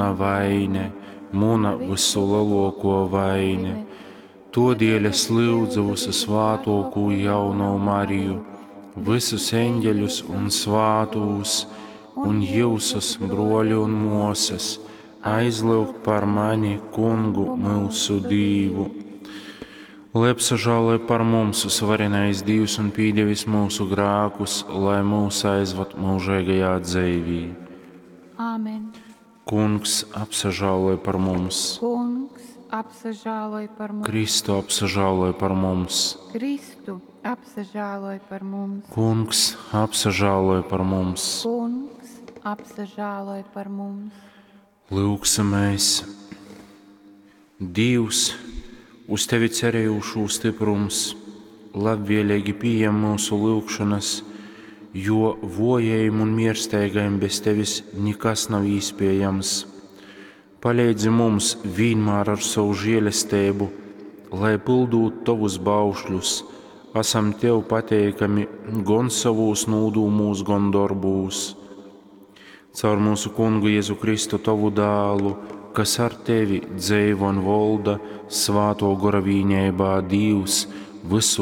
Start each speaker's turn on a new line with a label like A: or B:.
A: muna vaine, muna vysuleluokuo vaine. Todēļ es lyudzu vysusvātuokū jaunovu Mariju, vysus eņģeļus un svātūs, un jyusus, bruoļi un muosys, aizlyugt par mani Kungu myusu Dīvu. Lai apsažāloj par mums varenais Dīvs un pīdevis myusu grākus, lai mūs aizvad mūžīgajā dzeivī.
B: Āmen.
A: Kungs apsažāloj par mums,
B: Kungs, apsažāloj par mums.
A: Kristu apsažāloj par mums,
B: Kristu, apsažāloj par mums.
A: Kungs apsažāloj par mums.
B: Kungs, apsažāloj par mums.
A: Lūksimies! Dievs, uz tevi cerējušū stiprums, labvēlīgi pieņem mūsu lūgšanas, jo vojajiem un miersteigajiem bez tevis nekas nav iespējams. Palīdzi mums vienmēr ar savu žēlastību, lai pildot tavus baušļus, esam tev pateikami gan savos nūdūmūs, gan darbūs. Caur mūsu kungu Jēzu Kristu tavu dēlu, kas ar tevi dzeivo un valda svāto gora vīnībā Dievs visu.